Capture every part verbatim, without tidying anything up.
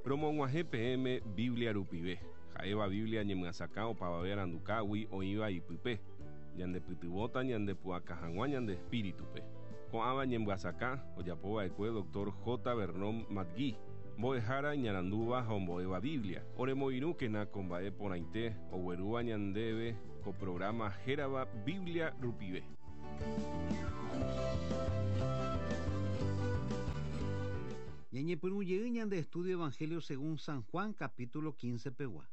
Romog̃uahẽ peẽme Biblia rupive. Ha'éva Biblia ñemyasakã opavave arandukágui oĩva ipype. Ñandepytyvõta ñandepu'aka hag̃ua ñande espíritupe. Ko'ãva ñemyasakã ojapova'ekue doctor J. Vernon McGee, mbo'ehára iñarandúva ha ombo'éva Biblia. Oremoirũkena ko mba'e porãite oguerúva ñandéve ko programa hérava Biblia rupive. Ñañepyrũ jey ñande estudio Evangelio según San Juan capítulo quince pegua.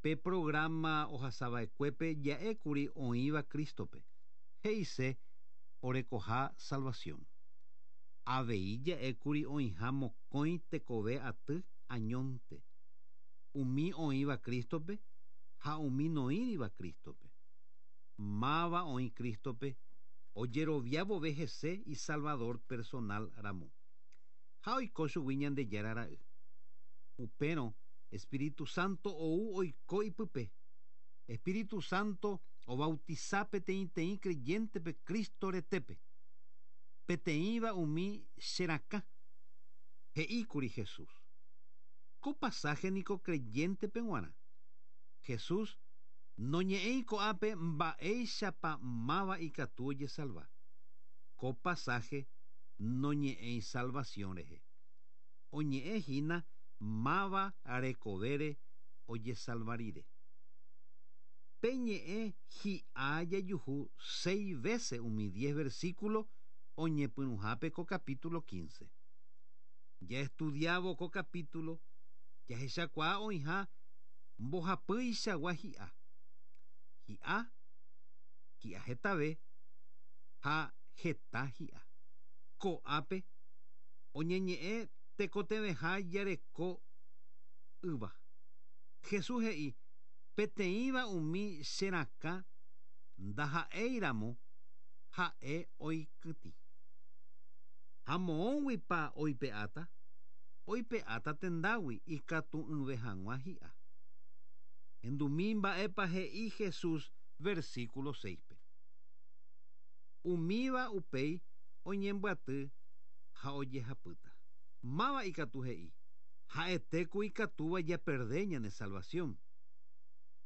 Pe programa ohasava'ekuépe ja'ékuri oĩva Cristope. He'ise orekoha salvación. Avei ja'ékuri oĩha mokõi tekove aty añónte. Umi oĩva Cristope ha umi noĩriva Cristope. Máva oĩ Cristope ojeroviávove hese y Salvador personal ramo. Ha oiko chugui Ñandejára ra'y. Upérõ Espíritu Santo ou oiko ipype. Espíritu Santo obautiza peteĩteĩ creyentepe Cristo retépe. Peteĩva umi che rakã. He'íkuri Jesús. Ko pasaje niko creyentepe g̃uarã. Jesús noñe'ẽi ko'ápe mba'éichapa máva ikatu ojesalva. Ko pasaje noñe'ẽi salvación rehe. Oñe'ẽhína máva rekovére ojesalva rire. Pe ñe'ẽ hi'a jajuhu seis veces umi diez versículo oñepyrũhápe ko capítulo quince. Ya estudiavo ko capítulo, jahechakuaa oĩha mbohapýichagua hi'a. Hi'a, hi'a hetave ha heta hi'a. Ko'ápe oñeñe'ẽ tekotevẽha jareko yva. Jesús he'i peteĩva umi che rakã ndaha'éiramo ha'e oikytĩ. Ha moõguipa oipe'áta? Oipe'áta tendágui ikatu'ỹve hag̃ua hi'a. Endumi mba'épa he'i Jesús versículo seis-pe. Umíva upéi oñembyaty ha ojehapýta. Máva ikatu he'i ha'etéku ikatúva japerde ñane salvación.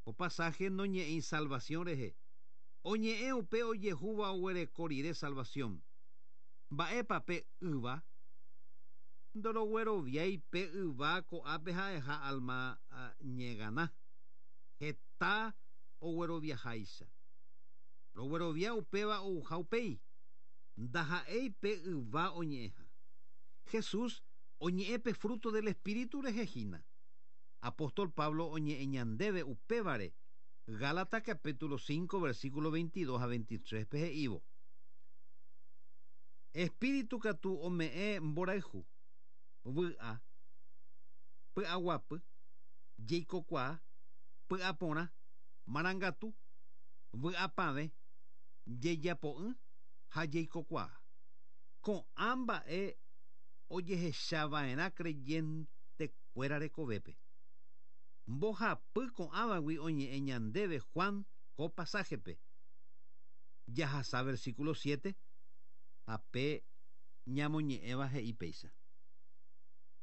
Ko pasaje noñe'ẽi salvación rehe. Oñe'ẽ upe ojehúva oguereko rire salvación. Mba'épa pe yva? Ndorogueroviái pe yva ko'ápe ha'eha alma ñegana. Heta ogueroviaháicha. Roguerovia upéva ouha upéi. Ndaha'éi pe yva oñe'ẽha. Jesús oñe'ẽ pe fruto del Espíritu rehe hína. Apóstol Pablo oñe'ẽ ñandéve upévare. Gálatas capítulo cinco versículo veintidós a veintitrés pe he'ívo. Espíritu katu ome'ẽ mborayhu, vy'a, py'aguapy, jeikokuaa, py'aporã, marangatu, vy'apavẽ, jejapo'ỹ ha jeikokuaa. Ko'ã mba'e ojehechava'erã creyentekuéra rekovépe. Mbohapy ko'ãvagui oñe'ẽ ñandéve Juan ko pasajepe. Jahasa versículo siete ha pe ñamoñe'ẽva he'i péicha.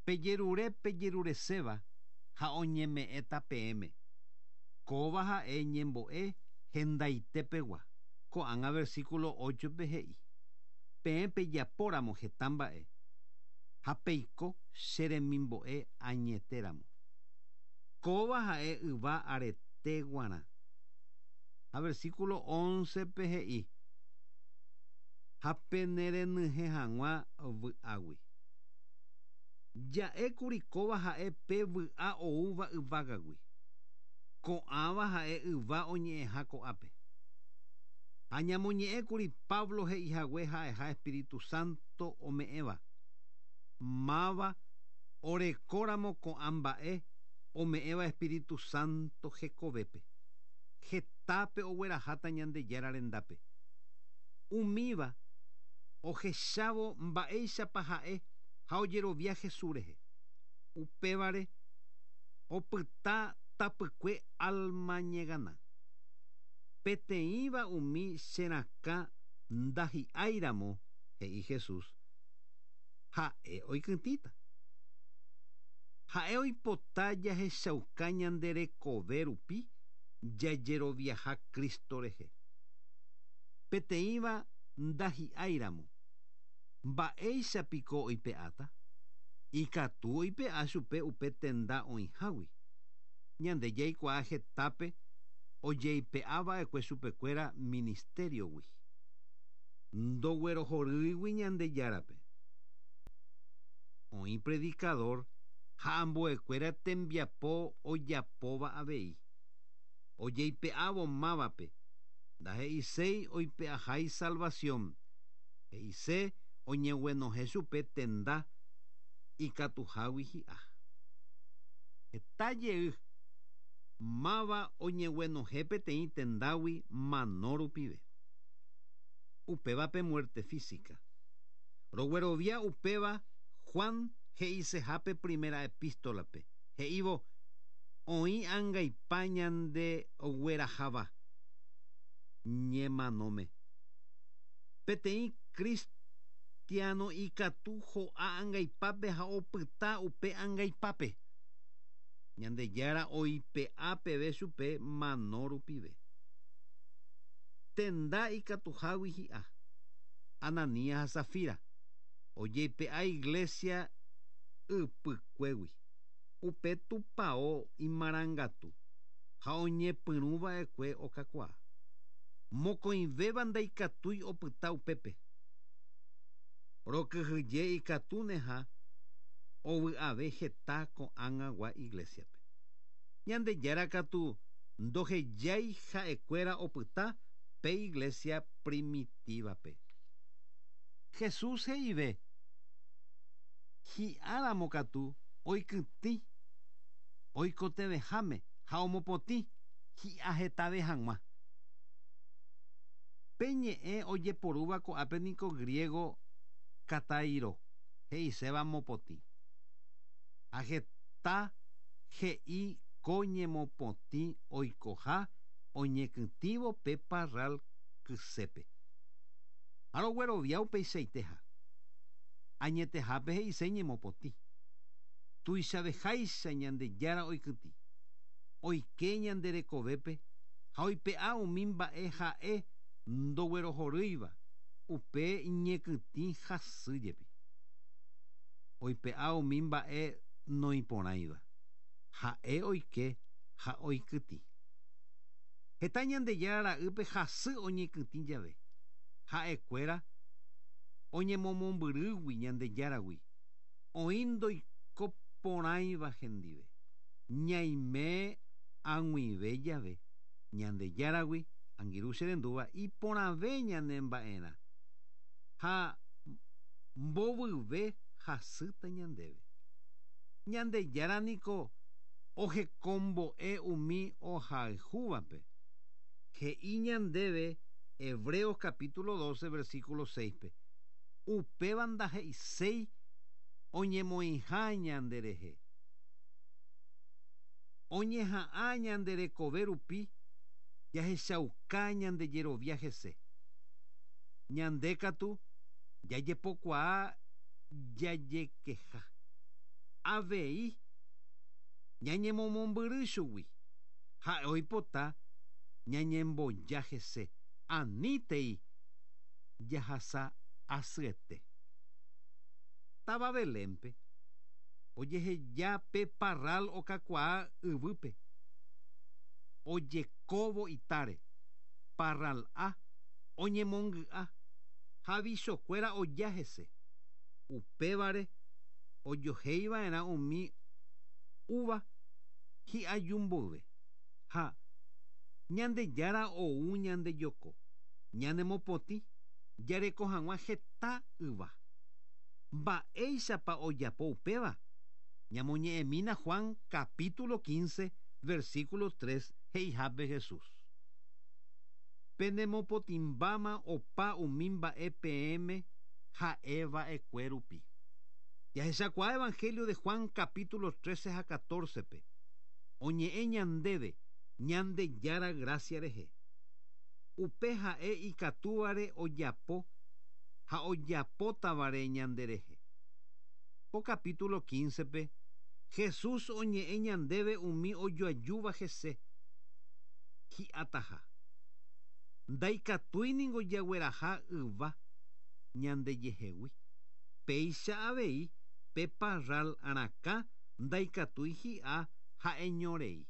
Pejerure pejerureséva ha oñeme'ẽta peẽme. Kóva ha'e ñembo'e hendaitepegua. Ko'ág̃a versículo ocho-pe he'i. Peẽ pejapóramo heta mba'e ha peiko che remimbo'e añetéramo. Kóva ha'e yva arete guarã. Ha versículo once-pe he'i. Ha penerenyhẽ hag̃ua vy'águi. Ja'ékuri kóva ha'e pe vy'a oúva yvágagui. Ko'ãva ha'e yva oñe'ẽha ko'ápe. Ha ñamoñe'ẽkuri Pablo he'ihague ha'eha Espíritu Santo ome'ẽva. Máva orekóramo ko'ã mba'e ome'ẽva Espíritu Santo hekovépe. Hetápe ogueraháta Ñandejára rendápe. Umíva ohechávo mba'éichapa ha'e ha ojerovia Jesús rehe. Upévare opyta tapykue alma ñegana. Peteĩva umi che rakã ndahi'áiramo, he'i Jesús, ha'e oikytĩta. Ha'e oipota jahechauka ñande rekove rupi jajeroviaha Cristo rehe. Peteĩva ndahi'áiramo. Mba'éichapiko oipe'áta? Ikatu oipe'a chupe upe tenda oĩhágui. Ñande jaikuaa hetápe ojeipe'ava'ekue chupekuéra ministeriogui. Ndoguerohorýigui Ñandejárape. Oĩ predicador ha ambuekuéra tembiapo ojapóva avei. Ojeipe'ávo mávape ndahe'iséi oipe'ahái salvación. He'ise oñeguenohẽ chupe tenda ikatuhágui hi'a. Heta jey máva oñeguenohẽ peteĩ tendágui mano rupive. Upévape muerte física. Roguerovia upéva Juan he'isehápe primera epístolape. He'ívo oĩ angaipa ñande ogueraháva ñemanóme. Peteĩ cristiano ikatu ho'a angaipápe ha opyta upe angaipápe. Ñandejára oipe'a peve chupe mano rupive. Tenda ikatuhágui hi'a. Ananías ha Safira ojeipe'a iglesia ypykuégui. Upe tupão imarangatu ha oñepyrũva'ekue okakuaa. Mokõivéva ndaikatúi opyta upépe. Rokyhyje ikatúneha ovy'ave heta ko'ág̃agua iglesiape. Ñandejára katu ndohejái ha'ekuéra opyta pe iglesia primitivape. Jesús he'ive hi'áramo katu oikytĩ oikotevẽháme ha omopotĩ hi'a hetave hag̃ua. Pe ñe'ẽ ojeporúva ko'ápe niko griego katairo he'iséva mopotĩ. Ha heta he'i ko ñemopotĩ oikoha oñekytĩvo pe parral kysépe. Ha roguerovia upeichaiteha. Añetehápe he'ise ñemopotĩ. Tuichaveháicha Ñandejára oikytĩ. Oike ñande rekovépe ha oipe'a umi mba'e ha'e ndoguerohorýiva upe ñekytĩ hasy jepi. Oipe'a umi mba'e noiporãiva. Ha'e oike ha oikytĩ. Heta Ñandejára ra'ýpe hasy oñekytĩ jave. Ha'ekuéra oñemomombyrýgui Ñandejáragui. Oĩ ndoikoporãiva hendive. Ñaime ag̃uive jave Ñandejáragui angirũ che rendúva iporãve ñane mba'erã ha mbovyve hasýta ñandéve. Ñandejára niko ohekombo'e umi ohayhúvape. He'i ñandéve Hebreos capítulo doce versículo seis-pe. Upéva ndahe'iséi oñemoĩha ñanderehe. Oñeha'ã ñande rekove rupi jahechauka ñande jerovia hese. Ñande katu jajepokuaa jajekeha. Avei ñañemomombyry chugui. Ha'e oipota ñañemboja hese. Anítei jahasa asyete. Táva Belénpe ojeheja pe parral okakuaa yvýpe. Ojekóvo itáre. Parral'a oñemongy'a ha vichokuéra oja hese. Upévare ojoheiva'erã umi uva hi'ajumboyve. Ha Ñandejára ou ñandejoko. Ñanemopotĩ jareko hag̃ua heta yva. Mba'éichapa ojapo upéva? Ñamoñe'ẽmína Juan capítulo quince versículo tres he'ihápe Jesús. Penemopotĩmbáma opa umi mba'e peẽme ha'eva'ekue rupi. Jahechakuaa Evangelio de Juan capítulo trece ha catorce-pe. Oñe'ẽ ñandéve Ñandejára gracia rehe. Upe ha'e ikatúvare ojapo ha ojapótavare ñanderehe. Ko capítulo quince-pe Jesús oñe'ẽ ñandéve umi ojoajúva hese hi'ataha. Ndaikatúi ningo jagueraha yva ñandejehegui. Péicha avei pe parral arakã ndaikatúi hi'a ha'eñorei.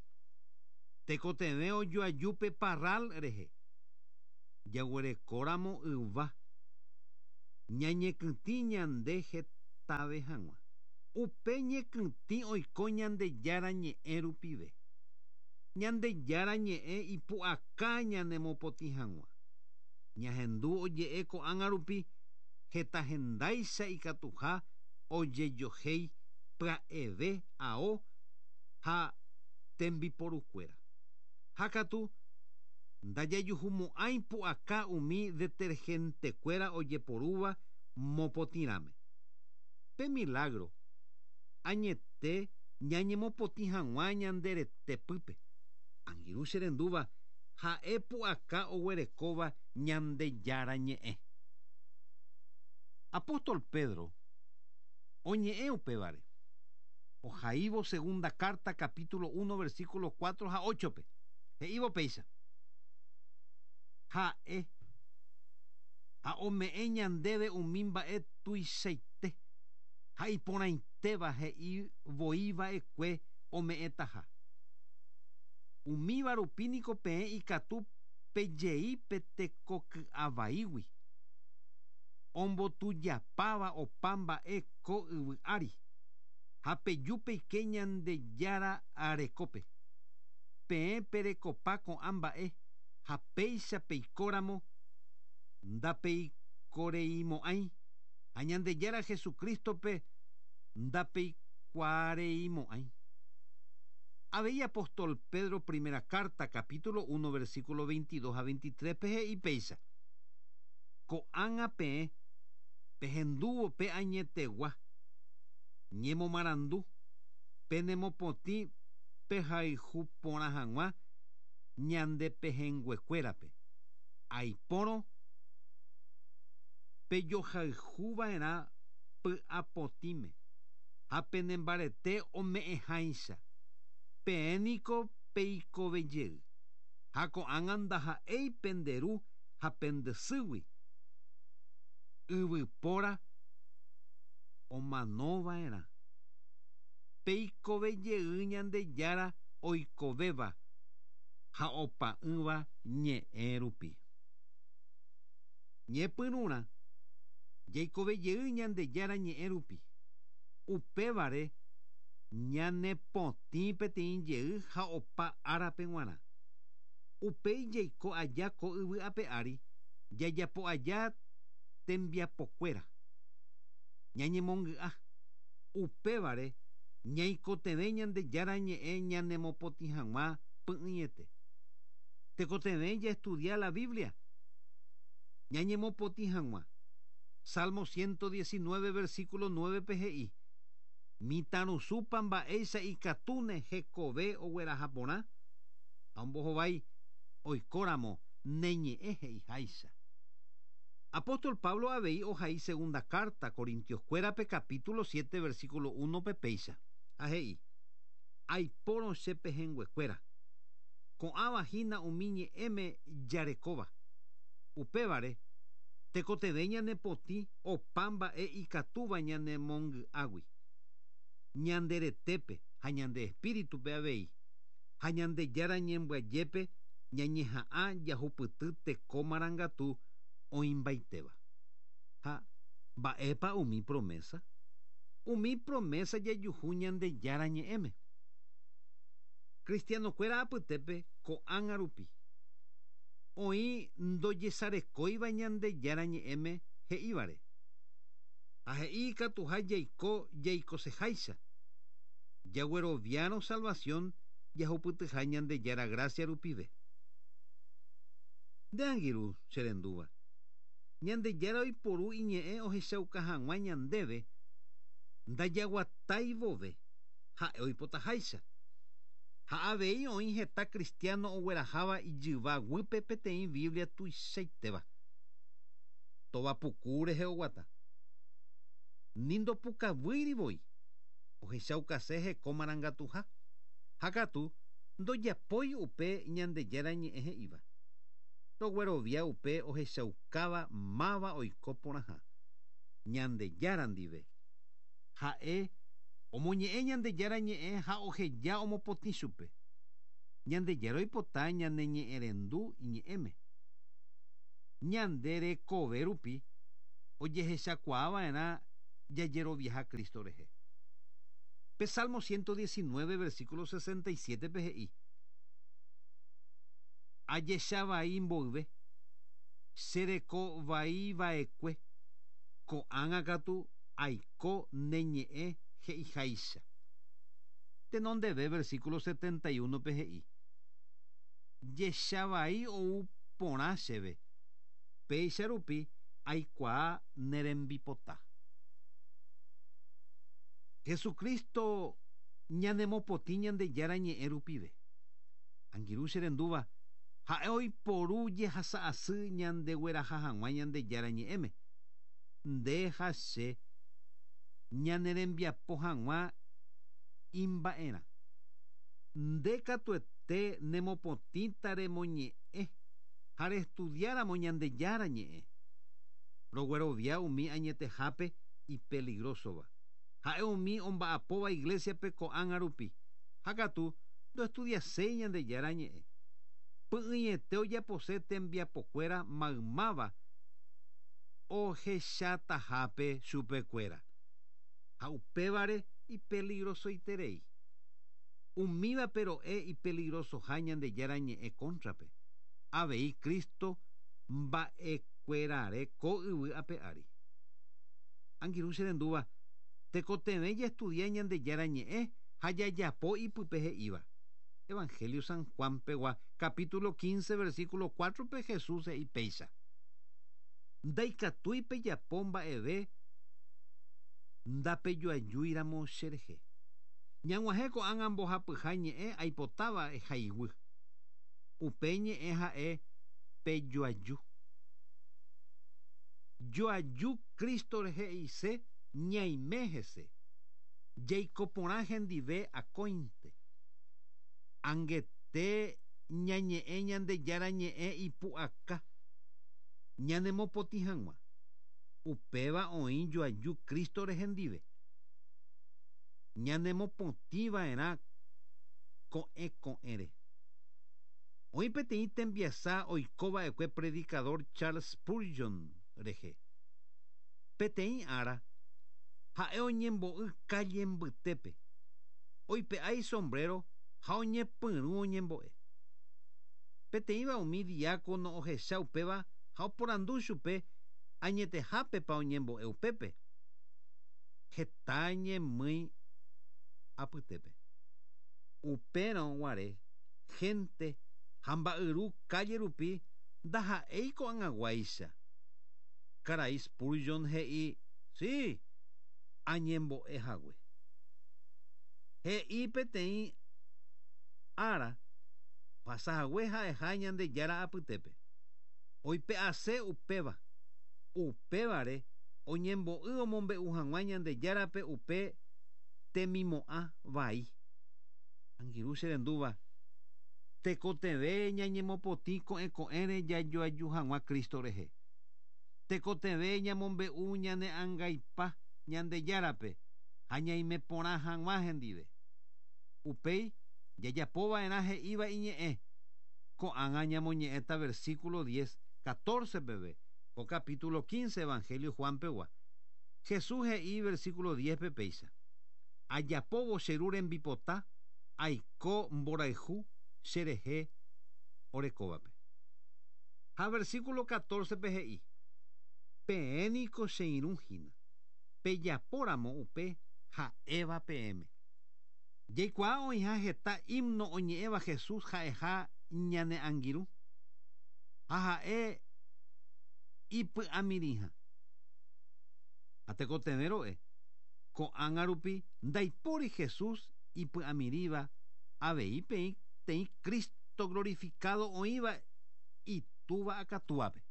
Tekotevẽ ojoaju pe parral rehe. Jaguerekóramo yva ñañekytĩ ñande hetave hag̃ua. Upe ñekytĩ oiko Ñandejára ñe'ẽ rupive. Ñandejára ñe'ẽ ipu'aka ñanemopotĩ hag̃ua. Ñahendu oje'e ko'ág̃a rupi heta hendáicha ikatuha ojejohéi pya'eve ao ha tembiporukuéra. Ha katu ndajajuhumo'ãi pu'aka umi detergentekuéra ojeporúva mopotĩrãme. Pe milagro añete ñañemopotĩ hag̃ua ñande retepýpe. Angirũ che rendúva ha'e pu'aka oguerekóva Ñandejára ñe'ẽ. Apóstol Pedro oñe'ẽ upévare. Ohaívo segunda carta capítulo uno versículo cuatro ha ocho-pe. He'ívo péicha. Ha'e ha ome'ẽ ñandéve umi mba'e tuichaite ha iporãitéva he'i voiva'ekue ome'ẽtaha. Umíva rupi niko peẽ ikatu pejei pe tekoky'avaígui. Ombotujapáva opa mba'e ko yvy ári. Ha peju peike Ñandejára arekópe. Peẽ perekopa ko'ã mba'e ha péicha peikóramo ndapeikoreimo'ãi ha Ñandejára Jesucristo-pe ndapeikuaareimo'ãi. Avei apóstol Pedro primera carta capítulo uno versículo veintidós ha veintitrés pe he'i péicha. Ko'ág̃a peẽ pehendúvo pe añetegua ñemomarandu penemopotĩ pehayhu porã hag̃ua ñande pehẽnguekuérape. Aipórõ pejohayhuva'erã py'apotĩme ha penembarete ome'ẽháicha. Peẽ niko peikovejey. Ha ko'ág̃a ndaha'éi penderu ha pendesýgui. Yvypóra omanova'erã. Peikovejey Ñandejára oikovéva ha opa'ỹva ñe'ẽ rupi. Ñepyrũrã jaikovejey Ñandejára ñe'ẽ rupi. Upévare ñanepotĩ peteĩ jey ha opa árape g̃uarã. Upéi jaiko aja ko yvy ape ári jajapo aja tembiapokuéra. Ñañemongy'a. Upévare ñaikotevẽ Ñandejára ñe'ẽ ñanemopotĩ hag̃ua py'ỹiete. Tekotevẽ jaestudia la Biblia. Ñañemopotĩ hag̃ua. Salmo ciento diecinueve versículo nueve pe he'i. Mitãrusúpa mba'éicha ikatúne hekove ogueraha porã ha ombohovái oikóramo neñe'ẽ he'iháicha. Apóstol Pablo avei ohai segunda carta Corintioskuérape capítulo siete versículo uno pe péicha. Ha he'i. Aipórõ che pehẽnguekuéra. Ko'ãva hína umi ñe'ẽme jarekóva. Upévare tekotevẽ ñanepotĩ opa mba'e ikatúva ñanemongy'águi. Ñande retépe ha ñande espíritupe avei. Ha Ñandejára ñembyajépe ñañeha'ã jahupyty teko marangatu oĩmbaitéva. Ha mba'épa umi promesa? Umi promesa jajuhu Ñandejára ñe'ẽme. Cristianokuéra apytépe ko'ág̃a rupi. Oĩ ndojesarekóiva Ñandejára ñe'ẽme he'ívare. Ha he'i ikatuha jaiko jaikoseháicha. Jagueroviárõ salvación jahupytyha Ñandejára gracia rupive. Nde angirũ che rendúva. Ñandejára oiporu iñe'ẽ ohechauka hag̃ua ñandéve ndajaguatái vove ha'e oipotaháicha. Ha avei oĩ heta cristiano ogueraháva ijyva guýpe peteĩ Biblia tuichaitéva. Tovapuku rehe oguata. Ni ndopukavýiri voi. Ohechaukase heko marangatuha. Ha katu ndojapói upe Ñandejára ñe'ẽ he'íva. Roguerovia upe ohechaukáva máva oiko porãha. Ñandejára ndive. Ha'e omoñe'ẽ Ñandejára ñe'ẽ ha oheja omopotĩ chupe. Ñandejára oipota ñane ñe'ẽrendu iñe'ẽme. Ñande rekove rupi ojehechakuaava'erã jajeroviaha Cristo rehe. Pe Salmo ciento diecinueve, versículo sesenta y siete pe he'i. Ajechavai mboyve, che reko vai va'ekue, ko'ág̃a katu aiko ne ñe'ẽ he'iháicha. Tenondeve versículo setenta y uno pe he'i. Jechavai ou porã chéve, péicha rupi aikuaa ne rembipota. Jesucristo ñanemopotĩ Ñandejára ñe'ẽ rupive. Angirũ che rendúva, ha'e oiporu jehasa asy ñandegueraha hag̃ua Ñandejára ñe'ẽme. Nde ha che ñane rembiapo hag̃ua imba'erã. Nde katuete nemopotĩta remoñe'ẽ ha reestudiáramo Ñandejára ñe'ẽ. Roguerovia umi añetehápe ipeligrosova. Ha'e umi omba'apóva iglesiape ko'ág̃a rupi. Ha katu ndoestudiaséi Ñandejára ñe'ẽ. Py'ỹiete ojapose tembiapokuéra maymáva ohechatahápe chupekuéra. Ha upévare ipeligrosoiterei. Umíva pero'e ipeligrosoha Ñandejára ñe'ẽ cóntrape. Avei Cristo mba'ekuérare ko yvy ape ári. Angirũ che rendúva, tekotevẽ jaestudia Ñandejára ñe'ẽ ha jajapo ipype he'íva. Evangelio San Juan pegua, capítulo quince, versículo cuatro pe Jesús he'i péicha. Ndaikatúi pejapo mba'eve ndapejoajúiramo che rehe. Ñag̃uahẽ ko'ág̃a mbohapyha ñe'ẽ aipotáva ehaiguy. Upe ñe'ẽ ha'e pejoaju. Joaju Cristo rehe he'ise ñaime hese. Jaiko porã hendive akóinte. Angete ñañe'ẽ Ñandejára ñe'ẽ ipu'aka. Ñanemopotĩ hag̃ua. Upéva oĩ joaju Cristo rehe ndive. Ñanemopotĩva'erã ko'ẽ ko'ẽre. Oĩ peteĩ tembiasa oikova'ekue predicador Charles Spurgeon rehe. Peteĩ ára ha'e oñembo'y calle mbytépe. Oipe'a sombrero ha oñepyrũ oñembo'e. Peteĩva umi diácono ohecha upéva ha oporandu chupe añetehápepa oñembo'e upépe. Heta ñemýi apytépe. Upérõ guare gente ha mba'yru calle rupi ndaha'éi ko'ag̃aguáicha. Karai Spurgeon he'i, sí, añembo'e hague. He'i peteĩ ára ohasahague ha'eha Ñandejára apytépe. Oipe'ase upéva. Upévare oñembo'y omombe'u hag̃ua Ñandejárape upe temimo'ã vai. Angirũ che rendúva, tekotevẽ ñañemopotĩ ko'ẽ ko'ẽre jajoaju hag̃ua Cristo rehe. Tekotevẽ ñamombe'u ñane angaipa Ñandejárape ha ñaime porã hag̃ua hendive. Upéi jajapova'erã he'íva iñe'ẽ. Ko'ág̃a ñamoñe'ẽta versículo diez, catorce peve, ko capítulo quince Evangelio Juan pegua. Jesús he'i versículo diez pe péicha. Ajapóvo che ru rembipota aiko mborayhu che rehe orekóvape. Ha versículo catorce pe he'i. Peẽ niko che irũ hína. Pejapóramo upe ha'éva peẽme. Jaikuaa oĩha heta himno oñe'ẽva Jesús ha'eha ñane angirũ. Ha ha'e ipy'amirĩha. Ha tekotevẽ ro'e. Ko'ág̃a rupi ndaipóri Jesús ipy'amirĩva avei peĩ teĩ Cristo glorificado oĩva itúva akatúape.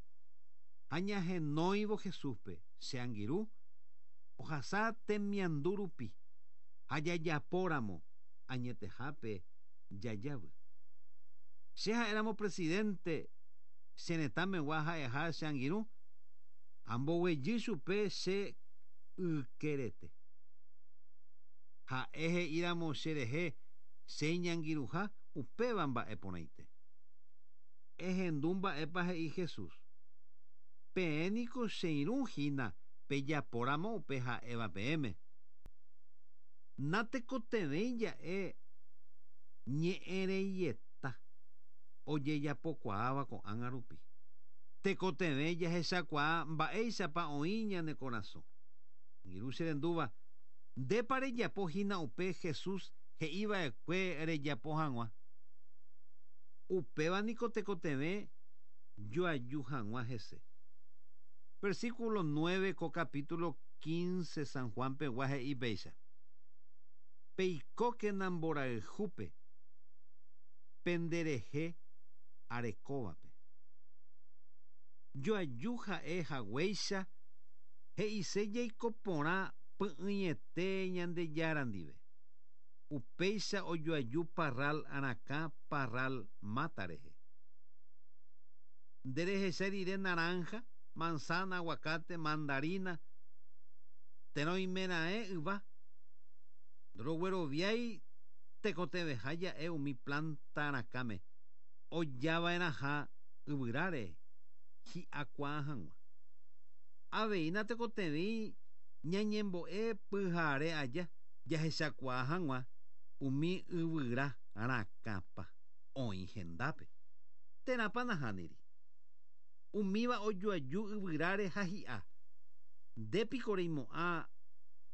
Ha ñahenóivo Jesúspe che angirũ ohasa temiandu rupi. Ha jajapóramo añetehápe jajavy. Che ha'éramo presidente che retãmegua ha'eha che angirũ amboguejy chupe che ykerete. Ha'e he'íramo cherehe che iñangirũha upéva mba'e porãite. Ehendu mba'épa he'i Jesús. Peẽ niko che irũ hína pejapóramo upe ha'éva peẽme. Natekotevẽi ja'e ñe'ẽreieta ojejapokuaáva ko'ág̃a rupi. Tekotevẽ jahechakuaa mba'éichapa oĩ ñane korasõ. Angirũ che rendúva, ndépa rejapo hína upe Jesús he'iva'ekue rejapo hag̃ua. Upéva niko tekotevẽ joaju hag̃ua hese. Versículo nueve ko capítulo quince San Juan pegua he'i péicha. Peikókena mborayhúpe penderehe arekóvape. Joaju ha'e haguéicha he'ise jaiko porã py'ỹiete Ñandejára ndive. Upéicha ojoaju parral arakã parral máta rehe. Nderehecha rire naranja, manzana, aguacate, mandarina, térã oimeraẽ yva. Rogueroviái tekotevẽha ja'e umi planta arakãme ojava'erãha yvyráre hi'akuaa hag̃ua. Avei natekotevẽi ñañembo'e pyhare aja jahechakuaa hag̃ua umi yvyra rakãpa oĩ hendápe. Térãpa nahániri. Umíva ojoaju yvyráre ha hi'a. Ndépiko reimo'ã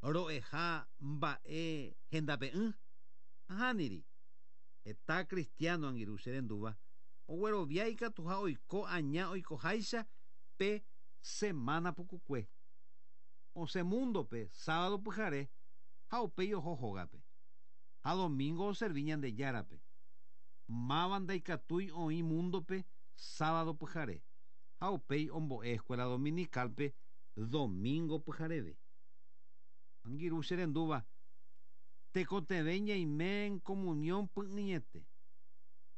ro'eha mba'e hendape'ỹ. Nahániri. Heta cristiano angirũ che rendúva oguerovia ikatuha oiko aña oikoháicha pe semana pukukue. Osẽ múndope sábado pyhare ha upéi oho hógape. Ha domingo oservi Ñandejárape. Máva ndaikatúi oĩ múndope sábado pyhare. Ha upéi ombo'e escuela dominicalpe domingo pyhareve. Angirũ che rendúva, tekotevẽ ñaime en comunión py'ỹiete.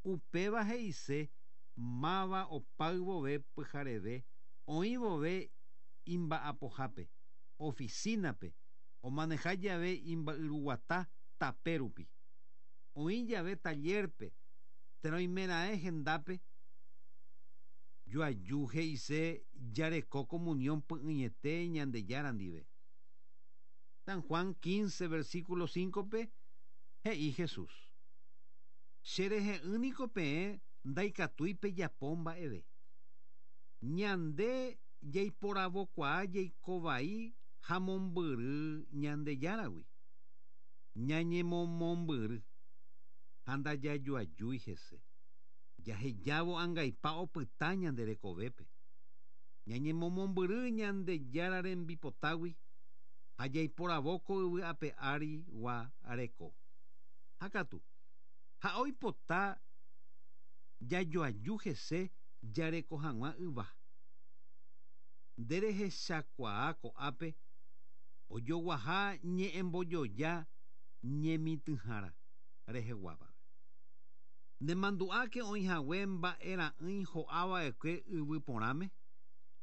Upéva he'ise máva opáy vove pyhareve oĩ vove imba'apohápe, oficinape, omaneha jave imba'yruguata tape rupi. Oĩ jave tallerpe, térã oimeraẽ hendápe, joaju he'ise jareko comunión py'ỹiete Ñandejára ndive. San Juan quince, versículo cinco-pe he'i Jesús. Cherehe'ỹ niko peẽ ndaikatúi pejapo mba'eve. Ñande jaiporavokuaa jaikovai ha mombyry Ñandejáragui. Ñañemomombyry ha ndajajoajúi hese. Jahejávo angaipa opyta ñande rekovépe. Ñañemomombyry Ñandejára rembipotágui ha jaiporavóko yvy ape ári gua reko. Ha katu, ha oipota jajoaju hese jareko hag̃ua yva. Nderehechakuaa ko'ápe ojoguaha ñe'ẽmbojoja ñemitỹhára reheguávape. Nemandu'áke oĩhague mba'era'ỹi ho'ava'ekue yvy porãme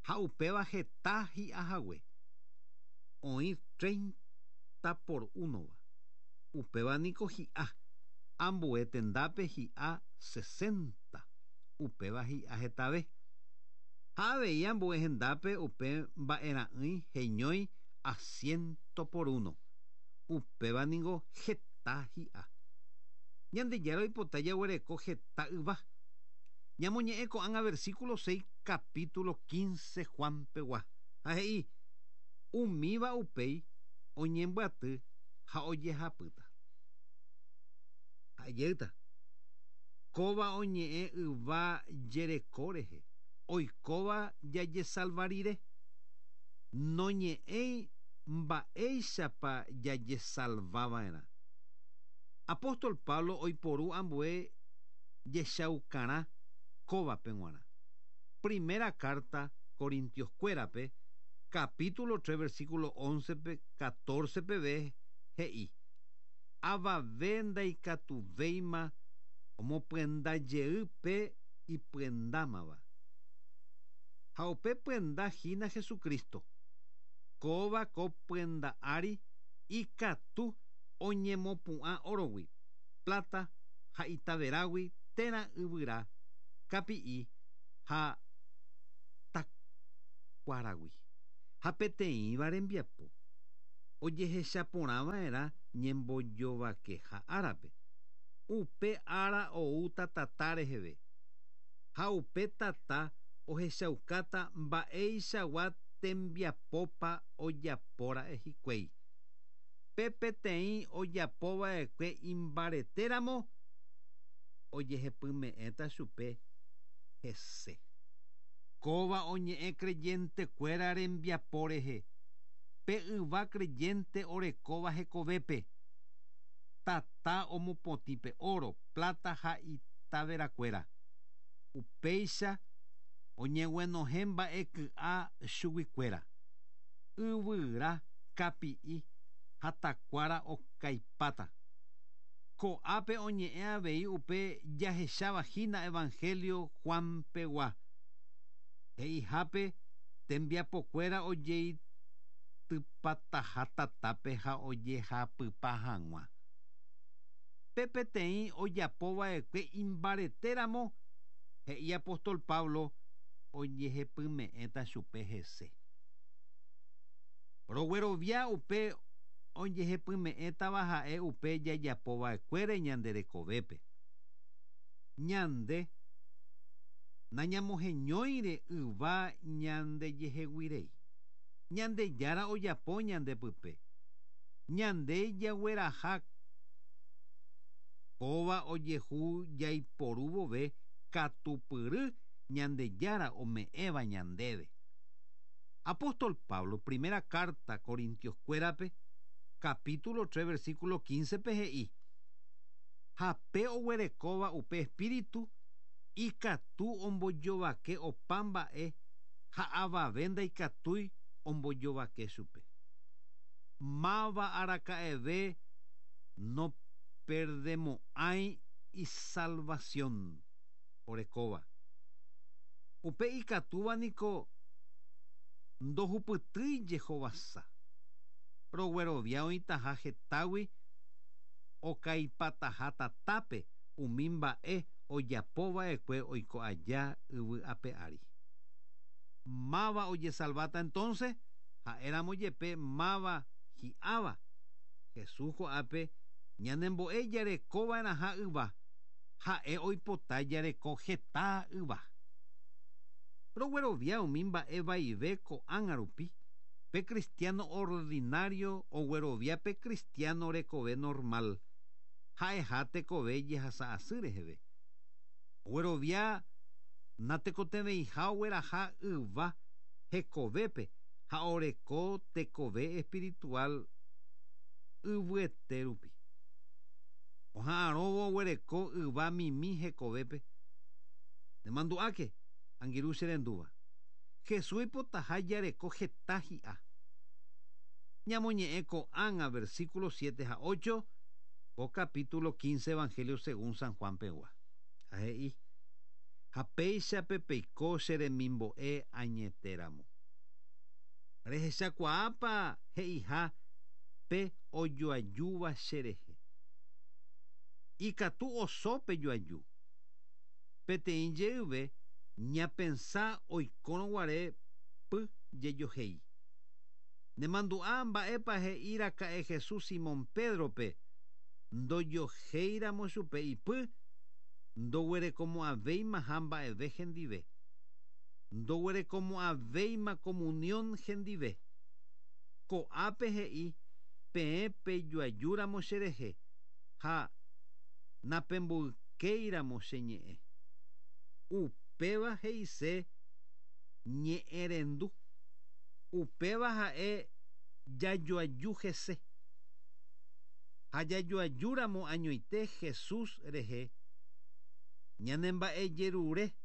ha upéva heta hi'ahague. Oĩ treinta por unova. Upéva niko hi'a. Ambue tendápe hi'a sesenta. Upéva hi'a hetave. Ha avei ambue hendápe upe mba'era'ỹi heñói a ciento por uno. Upéva ningo heta hi'a. Ñandejára oipota jaguereko heta yva. Ñamoñe'ẽ ko'ág̃a versículo seis capítulo quince Juan pegua. Ha he'i umíva upéi oñembyaty ha ojehapýta. Ha'ejéyta. Kóva oñe'ẽ yva jereko rehe. Oikóva jajesalva rire. Noñe'ẽi mba'éichapa jajesalvava'erã. Apóstol Pablo oiporu ambue jechaukarã kóvape g̃uarã. Primera carta Corintios kuérape, capítulo tres, versículo once pe, catorce peve he'i. Avave ndaikatuvéima omopyenda jey pe ipyendámava. Ha upe pyenda hína Jesucristo. Kóva ko pyenda ári ikatu oñemopu'ã órogui, plata ha itaverágui térã yvyra, kapi'i ha takuáragui. Ha peteĩva rembiapo ojehechaporãva'erã ñembojovakeha árape. Upe ára oúta tata reheve. Ha upe tata ohechaukáta mba'eichagua tembiapópa ojapóra'e hikuái. Pe peteĩ ojapova'ekue imbaretéramo ojehepyme'ẽta chupe hese. Kóva oñe'ẽ creyentekuéra rembiapo rehe. Pe yva creyente orekóva hekovépe. Tata omopotĩ pe oro, plata ha itaverakuéra. Upéicha oñeguenohẽ mba'e ky'a chuguikuéra. Yvyra, kapi'i ha takuára okaipáta. Ko'ápe oñe'ẽ avei upe jahecháva hína Evangelio Juan pegua. He'ihápe tembiapokuéra ojeitypataha tatápe ha ojehapypa hag̃ua. Pe peteĩ ojapova'ekue imbaretéramo he'i apóstol Pablo ojehepyme'ẽta chupe hese. Roguerovia upe ojehepyme'ẽtava ha'e upe jajapova'ekuére ñande rekovépe. Ñande nañamoheñóire yva ñandejeheguirei. Ñandejára ojapo ñandepype. Ñande jagueraha kóva ojehu jaiporu vove katupyry Ñandejára ome'ẽva ñandéve. Apóstol Pablo, primera carta Corintios-kuérape, capítulo tres, versículo quince pe he'i. Ha pe oguerekóva upe espíritu ikatu ombojovake opa mba'e ha avave ndaikatúi ombojovake chupe. Máva araka'eve no perdemo'ãi isalvación orekóva. Upe ikatúva niko ndohupytýi jehovasa. Roguerovia oĩtaha hetágui okaipataha tatápe umi mba'e ojapova'ekue oiko aja yvy ape ári. Máva ojesalváta entonces ha'éramo jepe máva hi'áva. Jesús ko'ápe ñanembo'e jarekova'erãha yva ha'e oipota jareko heta yva. Roguerovia umi mba'e vaive ko'ág̃a rupi. Pe cristiano ordinario oguerovia pe cristiano rekove normal. Ha'eha tekove jehasa asy reheve. Oguerovia natekotevẽiha ogueraha yva hekovépe ha oreko tekove espiritual yvyete rupi. Oha'arõvo oguereko yva mimi hekovépe. Nemandu'áke angirũ che rendúva. Jesús oipotaha jareko heta hi'a. Ñamoñe'ẽ ko'ág̃a versículo siete ha ocho ko capítulo quince Evangelio según San Juan pegua. Ha he'i: Ha péichape peiko che remimbo'e añetéramo. Rehechakuaápa he'iha pe ojoajúva cherehe. Ikatu oso pejoaju. Peteĩ jeyve ñapensa oikórõ py jejohéi. Nemandu'a mba'épa he'iraka'e Jesús Simón Pedrope ndojohéiramo chupe ipy ndoguerekomo'ãvéimaha mba'eve hendive. Ndoguerekomo'ãvéima comunión hendive. Ko'ápe he'i peẽ pejoajúramo cherehe ha napemboykéiramo che ñe'ẽ. Upéva he'ise ñe'ẽrendu. Upéva ha'e jajoaju hese. Ha jajoajúramo añoite Jesús rehe ñanemba'ejerure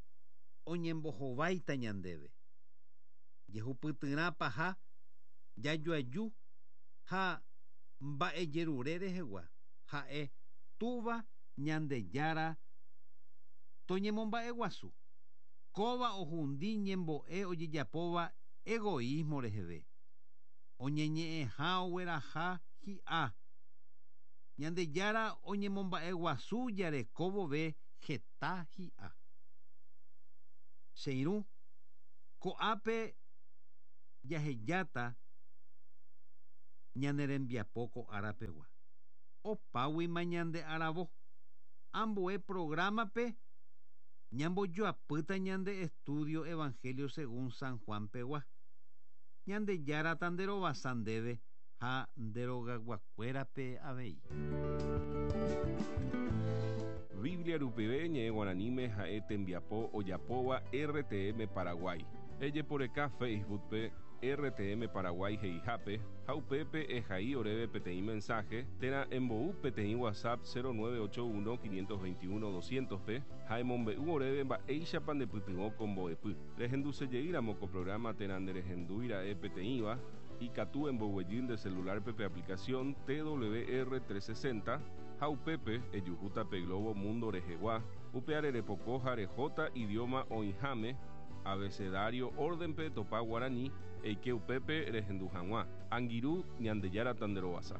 oñembohováita ñandéve. Jehupytyrãpa ha jajoaju ha mba'ejerure rehegua Ha'e túva Ñandejára toñemomba'eguasu. Kóva ohundi ñembo'e ojejapóva egoísmo reheve. Oñeñe'ẽha ogueraha hi'a. Ñandejára oñemomba'eguasu jareko vove heta hi'a. Che irũ, ko'ápe jahejáta ñane rembiapo ko árapegua. Opáguima ñande aravo. Ambue programa-pe ñambojoapýta ñande estudio Evangelio según San Juan pegua. Ñandejára tanderovasa ndéve ha nderogaguakuérape avei. Biblia rupive ñe'ẽ guaraníme ha'e tembiapo ojapóva R T M Paraguay. Ejeporeka Facebook-pe R T M Paraguay he'ihápe ha upépe ehai oréve peteĩ mensaje térã embou peteĩ WhatsApp cero nueve ocho uno quinientos veintiuno doscientos-pe ha emombe'u oréve mba'éichapa ndepytyvõ ko mbo'epy. Rehendusejeýramo ko programa térã nderehendúira'e peteĩva, ikatu emboguejy nde celular-pe pe aplicación T W R trescientos sesenta ha upépe ejuhúta pe globo mundo rehegua, upe repoko ha rehóta idioma oĩháme abecedario orden-pe topa guaraní eike upépe rehendu hag̃ua. Angirũ, Ñandejára tanderovasa.